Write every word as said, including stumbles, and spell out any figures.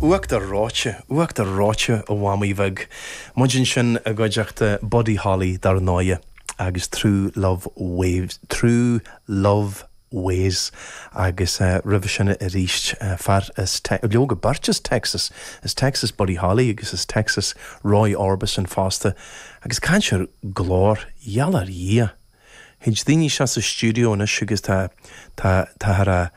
Uachtar reoite, uachtar reoite a mhamaí bheag. Muid ansin i gcuideachta Buddy Holly dar ndóigh agus True Love Waves, True Love Ways agus uh, roimhe sin arís uh, fear as leoga beirt as Texas as Texas Buddy Holly agus as Texas Roy Orbison fosta agus cainteoir glór gheal ar Dhia. Théid daoine seo sa stiúideo anois agus tá tá tá a